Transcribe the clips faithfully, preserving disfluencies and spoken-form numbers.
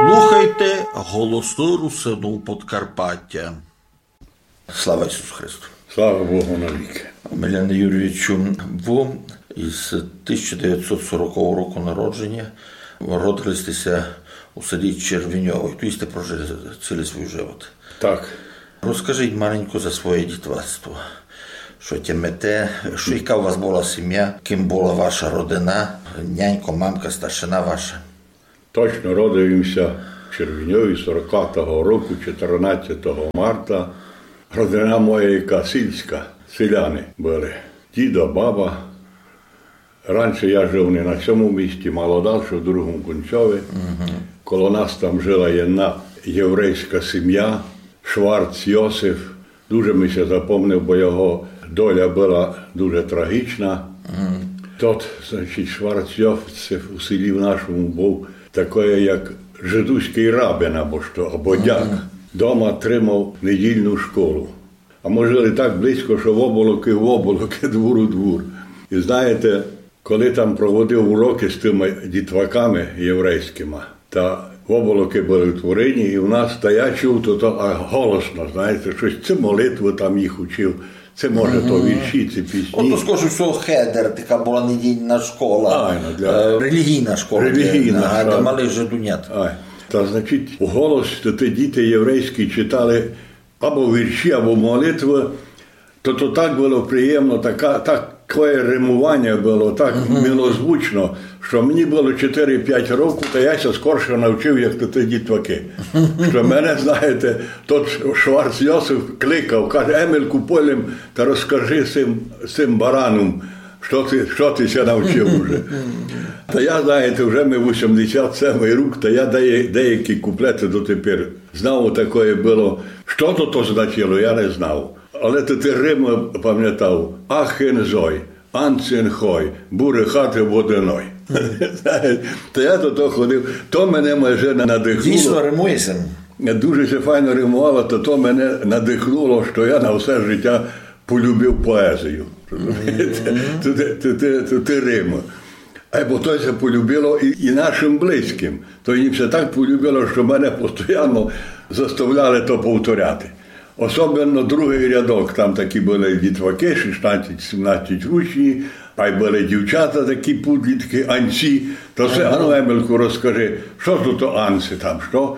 Слухайте Голосы Русинув Подкарпатя. Слава Ісусу Христу! Слава Богу навікы! Миляне Юрійовичу, вы из тисяча девятсот сорокового року народженя, родили сте ся у селі Червеньове. Туй сте прожили цілый свій живот. Так. Розкажіть маленько за своє дітвацтво. Што тямите, што, яка у вас была сімя, ким была ваша родина, нянько, мамка, старшина ваша? Точно, родив им ся в Червеньові сорокатого року, чотырнадцятого марта. Родина моя яка сільська, селяни были. Дідо, баба. Раньше я жив не на сьому місці, мало дальше, в другому кінцьови. Коло нас там жила єдна єврейська сімя, Шварц Йосиф. Дуже ми ся запомнив, бо його доля была дуже трагічна. Тот, значить, Шварц Йосиф у селі в нашому быв такоє, як жидуськый рабин або што, або дяк. Дома тримав недільну школу. А мы жили так близько, што в оболокы в оболокы, двур у двур. І знаєте, коли там проводив урокы з тыма дітваками єврейськыма, та в оболокы были утворені, і у нас, та я чув то, то, а голосно, знаєте, штось, ци молитвы там їх учив, ци, може, то вірші, ци пісні. Ото, скорше всього, хедер, така была недільна школа, Айно, для е, релігійна школа, релігійна, для, ага, для малых жидунят. Ай. Та, значить, у голос то ті діти єврейські читали або вірші, або молитвы, то, то так было приємно, така, такоє римованя было, так милозвучно, што мені было чотыри-пять років, та я ся скорше навчив, як то ті дітвакы. Што мене, знаєте, тот Шварц Йосиф кликав, каже: «Емельку, пойдем та розкажи сим, сим баранам, што ты, што ты ся навчив уже». Та я, знаєте, вже ми вісімдесят семый рік, та я дея-, деякі куплеты дотепер знав, такоє было. Што то, то значило, я не знав. Але то ті римы памнятав. Ахен зой, анцен хой, бурехати воденой. Та я до того ходив. То мене майже на-, надихнуло. Дійсно римує ся. Дуже ся файно римувало, то, то мене надихнуло, што я на все життя полюбив поезію. Розумієте? То, то, то, то, то ті римы. Е, бо то ся полюбило і, і нашым близькым. То їм ся так полюбило, што мене постоянно заставляли то повторяти. Особенно другый рядок, там такі были дітвакы, шістнадцять-сімнадцять ручні, а й были дівчата такі, підлітки, анці. То все, ану, Емельку, розкажи, што тут то анці там, што?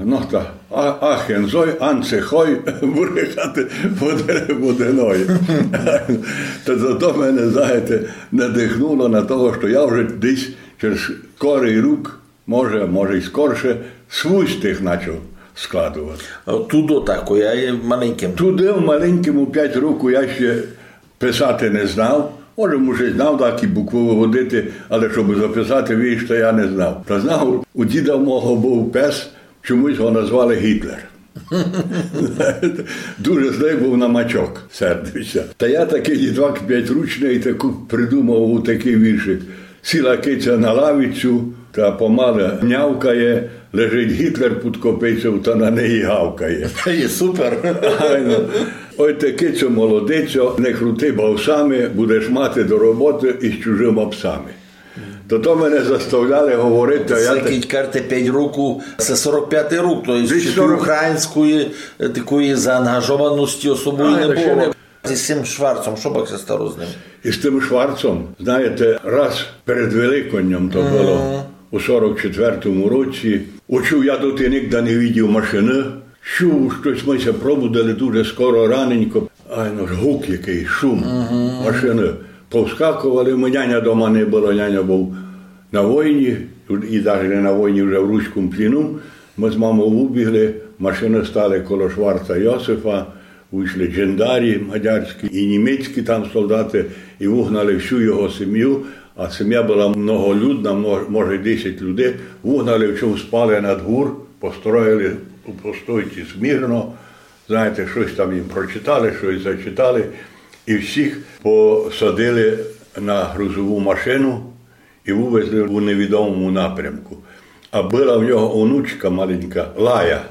Ну та, а, ахен зой, анце хой, бурехати воде-, воденой. Та зато мене, знаєте, надихнуло на того, што я вже десь через скорый рік, може, може й скорше, свій стих начав складовати. А туды так, я є маленькым. Туды в маленькому пять років я ще писати не знав. Може, може, знав, так і буквы выводити, але щоб записати вірш, то я не знав. Та знав, у діда мого быв пес, чомусь го назвали Гітлер. Дуже злый быв на мачок, сердився. Та я такый дітвак пятьручный таку придумав такый віршик. Сіла киця на лавицю, та помалы нявкає, лежить Гітлер під копицьов та на неї гавкає. Та є супер. Айно. Ой, ти, кицьо, молодицьо, не крути бавсами, будеш мати до роботы із чужыма псами. То, то мене заставляли говорити, а я... Се, кідь кажете, пять років, се сорок пятый рік, то є... Десь ще сорок. Української, е, такої заангажованості особої не было. З тым Шварцом, што пак ся стало з ним? Із тым Шварцом, знаєте, раз перед Великоднем то было, у сорок четвертому році, учув, я доти нігде не видів машины, чув, штось мы ся пробудили дуже скоро, раненько, айно, гук якый, шум машины. Повскаковали мы, няня дома не было, няня быв на войні, і даже не на войні, вже в руському пліну. Мы з мамов выбігли, машины стали коло Шварца Йосифа, вышли джендарі мадярські і німецькі там солдаты, і выгнали всю його сім'ю, а сім'я была многолюдна, мож-, може, десять людей, выгнали, всьо, спали на двур, построїли у постойці смірно, знаєте, штось там їм прочитали, штось зачитали, і всіх посадили на грузову машину, і вывезли у невідомому напрямку. А была в нього онучка маленька, Лая,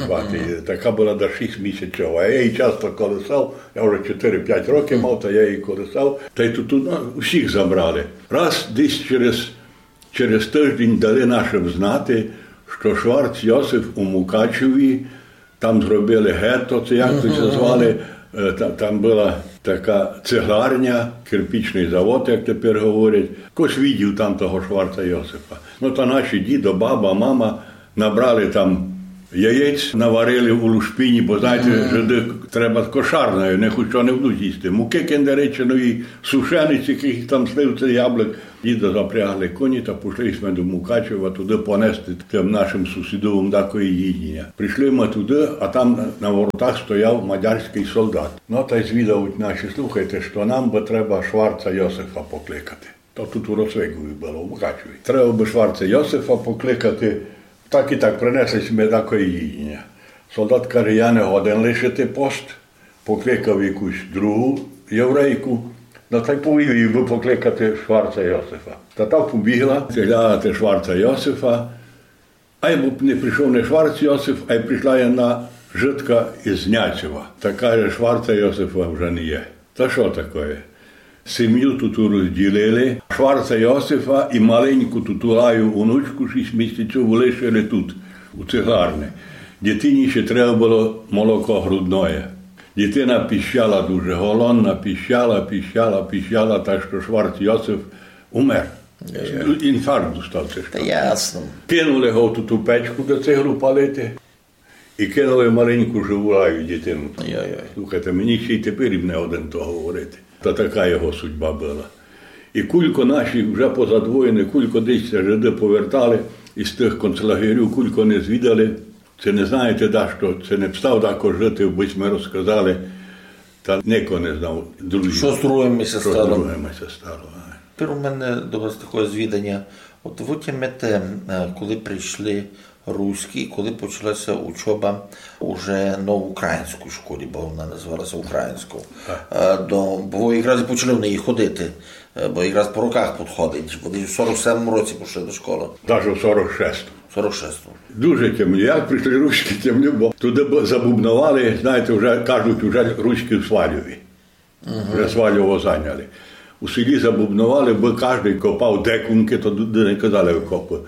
звати її, така была десь шість місяцьова. А я її часто колисав, я вже чотыри-пять років мав, та я її колисав. Та й тут, тут, ну, усіх забрали. Раз десь через, через тыждень дали нашым знати, што Шварц Йосиф у Мукачеві, там зробили гетто, ци як то ся звали, е, та-, там была така цегларня, кирпічный завод, як тепер говорять. Хтось видів там того Шварца Йосифа. Но та наші дідо, баба, мама набрали там яєць, наварили у лушпині, бо, знаєте, жиды треба кошарною, не хоч што не будуть їсти. Муки кендереченої, сушениці, якых там сливця, яблук. Діда запрягли коні та пішли сьме до Мукачева туды понести тым нашым сусідовым дакоє їдіня. Пришли мы туды, а там на, на воротах стояв мадярськый солдат. Но, тай звідавуть наші: «Слухайте, што нам бы треба Шварца Йосифа покликати». То тут у Росвикові было, у Мукачеві. «Треба бы Шварца Йосифа покликати, так і так, принесли сьме дакоє їдіня». Солдат каже: «Я не годен лишити пост». Покликав якусь другу єврейку, но, тай повів їй бы покликати Шварца Йосифа. Та та побігла, глядати Шварца Йосифа. Ай бо не пришов не Шварц Йосиф, ай пришла єдна жидка із Няцева. Та каже: «Шварца Йосифа вже не є». Та што такоє? Сім'ю туту розділили, Шварца Йосифа і маленьку туту Гаю онучку шість місяцьову лишили тут, у цегларни. Дитині ще треба было молоко грудноє. Дитина піщала дуже, голодна, піщала, піщала, піщала, так што Шварц Йосиф умер. Йой-йой. Інфаркт достав, ци што. Та ясно. Кинули го в туту печку, де цеглу палити. І кинули маленьку живу Гаю дитину. Йой-йой. Слухайте, мені ще й тепер їм не годен то говорити. Та така його судьба была. І кулько наші вже позад войны, кулько десь ся жиды повертали із тых концлагерів, кулько не звідали, ци не знаєте дашто, ци не встав дако жити, бы сьме розказали, та нико не знав, друзі. Што з другыми ся стало? Што з другыми ся стало, ай. Тепер у мене до вас такоє звіданя. От вы тямите, е, коли прийшли руські, коли почала ся учоба уже на українській школі, бо вона називала ся українською. Так. Е, до, бо вы якраз і почали в неї ходити, е, бо якраз по роках підходить. Вы десь у сорок семому році пішли до школы. Даже в сорок шестому. Сорок шестому. Дуже тямлю. Як прийшли руські, тямлю, бо туды бу-, забубновали, знаєте, вже кажуть, уже руські в Сваляві. Вже Сваляву зайняли. У селі забубновали, бо каждый копав декункы, то туды не казали окопы.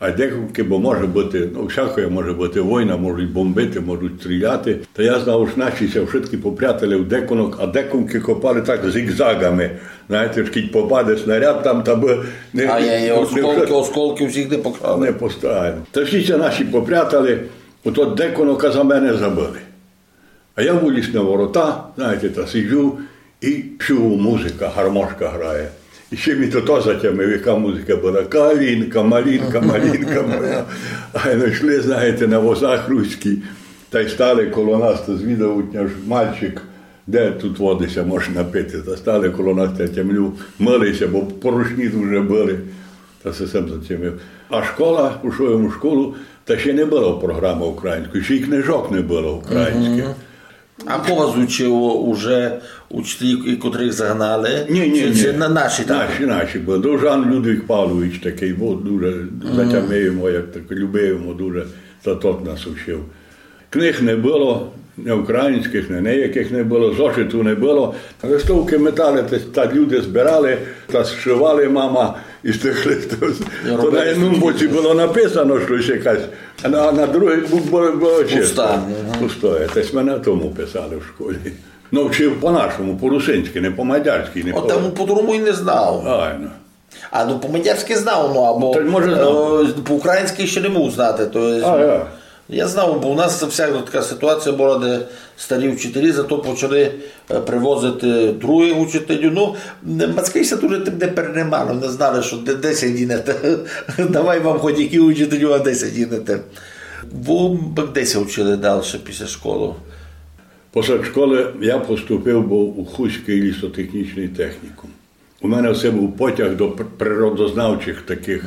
А декункы, бо може быти, ну, всякоє може быти, война, можуть бомбити, можуть стріляти. Та я знав, ож наші ся вшыткі попрятали в декунок, а декункы копали так зігзагами. Знаєте, ож кідь попаде снаряд там, та бы не... А я, я, не осколкы, осколкы всіх не поклали. Не поставили. Та всі ся наші попрятали, ото декунока за мене забыли. А я выліз на ворота, знаєте, та сиджу, і чую, музика, гармошка грає. І ще ми то, то затямив, яка музика была. Калінка, малінка, малінка моя. А й йшли, знаєте, на возах руські, та й стали коло нас, та звідавуть, аж мальчик, де тут воды ся може напити. Та стали коло нас, та тямлю, мыли ся, бо порушні дуже были. Та се сам затямив. А школа, пішов єм у школу, та ще не было програмы української, ще й книжок не было українськых. А ко вас учив уже учителі, котрых загнали? Ні, ні, ні. Чи, чи на-, наші там? Наші, наші были. Довжан Людвіг Павлович такый быв, дуже затямив йому, як так, любив йому дуже, та тот нас учив. Книг не было, ні українськых, ні ніякых не было, зошиту не было. Листовкы метали, та, та люди збирали, та зшивали мама із тых листов. То на єдному боці было написано штось якесь, а на, на другый бок было, было чисто. Пуста, мгм. Пустоє. Та сьме на тому писали в школі. Ну, вчив по-нашому, по-русинськы, не по-мадярськы, не по... От там по-другому й не знав. Айно. А, ну, по-мадярськы знав, ну, або, та, може, знав. Е, по-українськы ще не мог знати, то єсть, а, я. Я знав, бо у нас всяка така ситуація была, де старі вчителі, зато почали, е, привозити другых учителів. Ну, м-, Мацкий ся дуже тым не переймав, не знали, што де, де ся дінете. Давай вам хоч які учителю, а де ся дінете. Вы де ся учили дальше після школы? Після школы я поступив быв у Хустськый лісотехнічный технікум. У мене все быв потяг до пр-, природознавчых такых,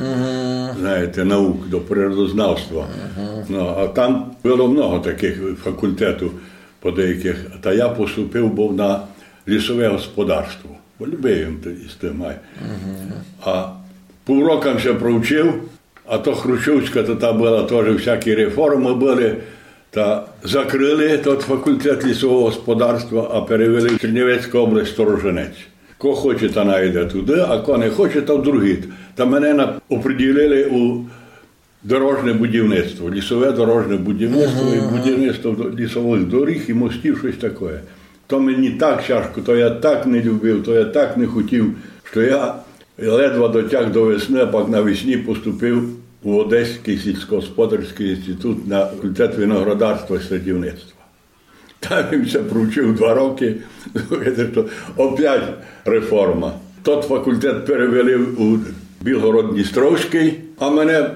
знаєте, наук, до природознавства. Ну, а там было много такых факультетів по деякых. Та я поступив быв на лісове господарство. Бо любив єм т-, із тым, ай. А пів рока ся провчив, а то хрущовська, то та была, тоже всякі реформы были, та закрыли тот факультет лісового господарства, а перевели в Чернівецьку область, Сторожинець. Ко хоче, та найде туды, а ко не хоче, та в другі. Та мене на-, оприділили у Дорожне будівництво, лісове дорожне будівництво і будівництво до-, лісовых доріг і мостів, штось такоє. То мені так тяжко, то я так не любив, то я так не хотів, што я ледве дотяг до весны, а пак навесні поступив у Одеськый сільськогосподарськый інститут на факультет виноградарства і садівництва. Там им ся провчив два рокы. Слухайте, што опять реформа. Тот факультет перевели у Білгород-Дністровськый, а мене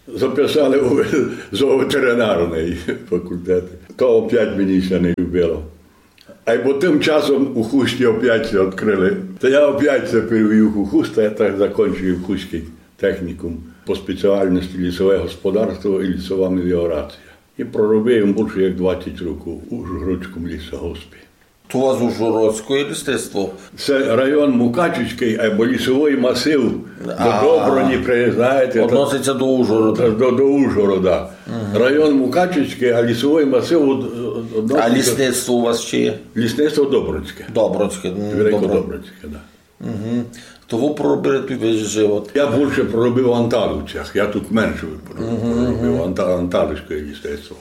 записали у зооветеринарный факультет. То опять мені ся не любило. Айбо тым часом у Хусті опять ся відкрыли. Та я опять ся перевів у Хуст, та я так закончив Хустськый технікум по спеціалности лісове господарство і лісова меліорація. І проробив им бульше як двадцять років у Ужгородському лісогоспі. То у вас ужгородське лісництво? Се район Мукачівськый, айбо лісовый масив до Доброні, знаєте, та Односить ся до Ужгорода. До, до Ужгорода. Район Мукачівськый, а лісовый масив од-, од-, А односить ся лісництво у вас ще є? Лісництво Добринське. Добринське, м, Великодобринське, да. То вы проробили туй весь живот. Я бульше проробив у Анталовцях, я тут менше проробив, Анта-, Анталовське лісництво.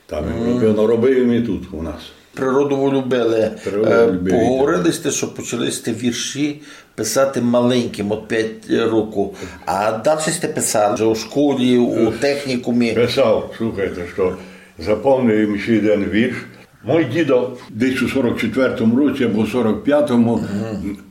Там я робив, но робив им і тут у нас. Природу вы любили. Природу Е, любив. Поговорили сьте, што почали сьте вірші писати маленькым, од пять років. А дальше сьте писали вже у школі, у технікумі. Писав, слухайте, што запомнив им ще єден вірш. Мой дідо десь у сорок четвертому році або сорок пятому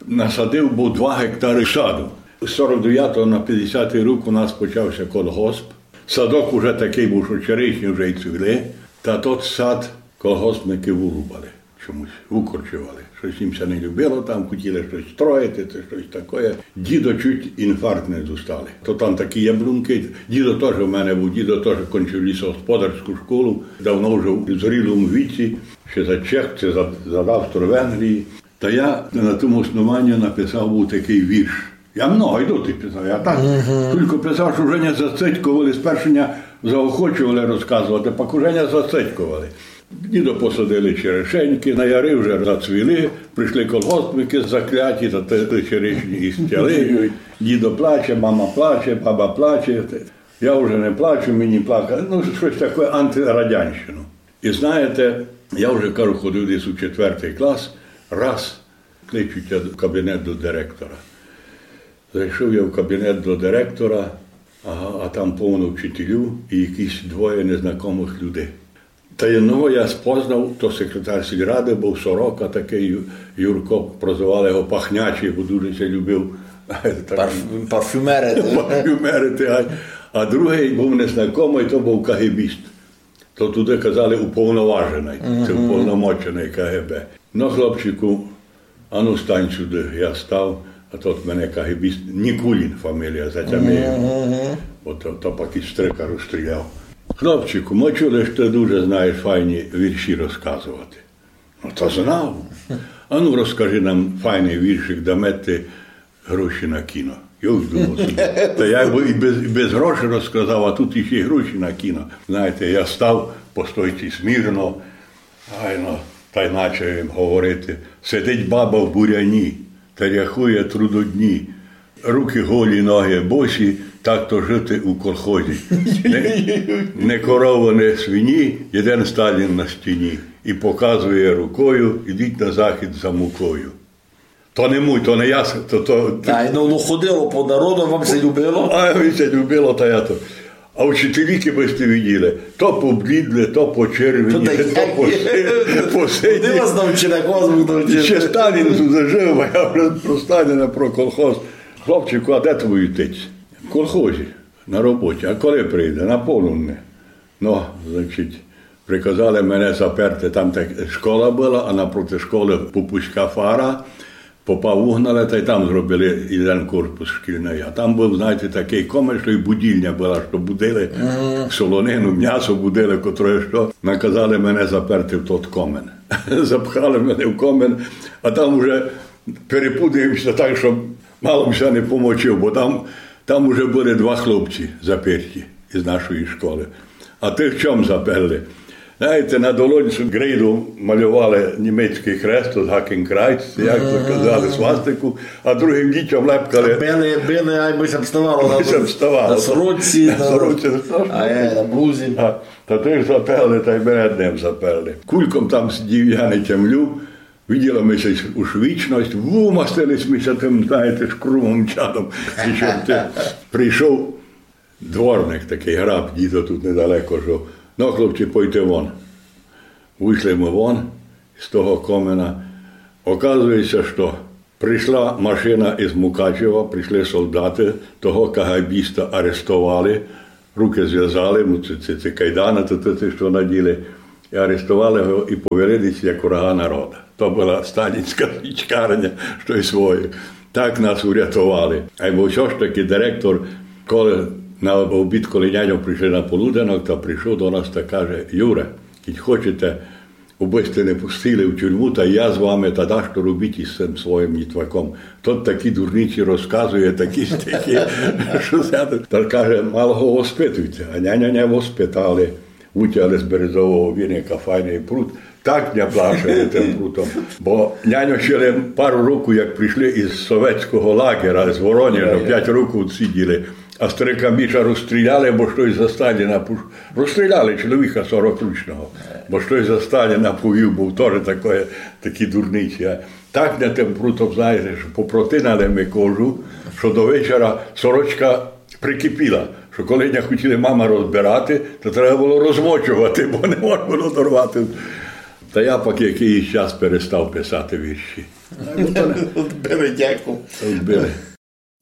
насадив быв два гектары саду. З сорок девятого на пятдесятый рік у нас почав ся колгосп. Садок уже такый быв, што черешні вже й цвіли. Та тот сад колгоспникы вырубали чомусь, выкорчовали. Штось им ся не любило там, хотіли штось строїти, ци штось такоє. Дідо чуть інфаркт не достали. То там такі яблункы. Дідо тоже в мене быв, дідо тоже кончив лісогосподарську школу, давно вже в зрілому віці, ще за Чех, ци за, за Австро-Венгрії. Та я на тому основанні написав быв такый вірш. Я много й доти писав, я так тілько писав, што вже ня зацитьковали, спершу ня заохочовали розказовати, пак уже ня зацитьковали. Дідо посадили черешенькы, на яри вже зацвіли, прийшли колгоспникы закляті, та те, те черешні і стяли. Дідо плаче, мама плаче, баба плаче. Я вже не плачу, мені плакати. Ну, штось таке антирадянщину. І знаєте, я вже, кажу, ходив десь у четвертый клас, раз кличуть в кабінет до директора. Зайшов я в кабінет до директора, ага, а там повно вчителів і якісь двоє незнакомых людей. Та єдного я спознав, то секретар сільрады быв, Сорока такый, Ю-, Юрко, прозивали його Пахнячий, бо дуже ся любив так Парф-, парфюмерити. Парфюмерити, а, а другый быв незнакомый, то быв кагебіст. То туды казали уповноваженый, ци уповномоченый К Г Б. Но, хлопчику, ану стань сюды. Я став, а тот мене кагебіст, Нікулін фамілія, затямив. Бо то, то пак і стрика розстріляв. Хлопчику, мы чули, што ты дуже знаєш файні вірші розказовати. Но то знав. Ану, розкажи нам файный віршик, даме ти гроші на кіно. Я уж думав собі. Та я бы і без, і без грошей розказав, а тут іщи й гроші на кіно. Знаєте, я став по стойці смірно, айно, та й начав їм говорити. Сидить баба в буряні, та рахує трудодні. Руки голі, ноги босі, так то жити у колхозі. Не, не корова, не свині, єден Сталін на стіні. І показує рукою: «Ідіть на захід за мукою». То не муй, то не я, то, то... Ай, ну, ну, ходило по народу, вам ся любило? А, мені ся любило, та я то. А вчителі, кибы сьте виділи, то поблідли, то почервені, то, то як, поси-, посині. Куды вас навчили, як вас Бог навчив? Ще Сталін тут жив, а я вже про Сталіна, про колхоз. Хлопчику, а де твій отець? В колхозі, на роботі. А коли прийде? На полудне. Ну, значить, приказали мене заперти, там так школа была, а напроти школы попуська фара, попа угнали, та й там зробили єден корпус шкільный. А там быв, знаєте, такый комин, што й будільня была, што будили солонину, мнясо будили, котроє што. Наказали мене заперти в тот комин. Запхали мене в комин, а там уже перепудив ся так, што мало м ся не помочив, бо там, там уже были два хлопці заперті із нашої школы. А тых чом заперли? Знаєте, на долонці ґрейдом малювали німецькый хрест, от Гакенкрайц, як то казали, свастику, а другым дітям лепкали. Били, били, ай бы ся вставало. Бы ся вставало. На сорочці, на сорочці, на сорочці. А, е, на блузі. А, та тых заперли, та й мене ним заперли. Кульком там сидів, я не тямлю. Виділа ми ся уж вічность, вымастили сьме ся тым, знаєте, шкрумом чадом. І што ти прийшов дворник такый, граб, дідо тут недалеко жив. Ну, хлопці, пойте вон. Вышли мы вон з того комина. Оказує ся, што прийшла машина із Мукачева, прийшли солдаты, того кагайбіста арестовали, рукы звязали, му ці, ці, ці кайданы, то, то, то, што наділи. І арестовали го і повели десь як врага народа. То была сталінська січкарня, што й своє. Так нас урятовали. Айбо всьо ж таки директор, коли на обід, коли няньо прийшли на полуденок, та прийшов до нас та каже: «Юре, кідь хочете, убы сьте не пустили в тюрму, та я з вами та дашто робіть із сим своїм нітваком. Тот такі дурниці розказує, такі стихи, што ся». Та каже: «Мало го воспитуйте». А няньо не воспитали. Вытягли з березового віника файный прут. Так ня плашили тым прутом. Бо няньо ще лем пару року, як прийшли із совєтського лагера, з Воронежа, пять років сиділи. А старика Міша розстріляли, бо штось за Сталіна пуш-, розстріляли чоловіка сорокрічного, бо штось за Сталіна повів, бо тоже такоє, такі дурниці. А так ня тым прутом, знаєте, што попротинали ми кожу, што до вечора сорочка прикипіла, што коли ня хотіли мама розбирати, то треба было розмочовати, бо не можна было дорвати. Та я пак якыйсь час перестав писати вірші. Одбили дяку. Одбили.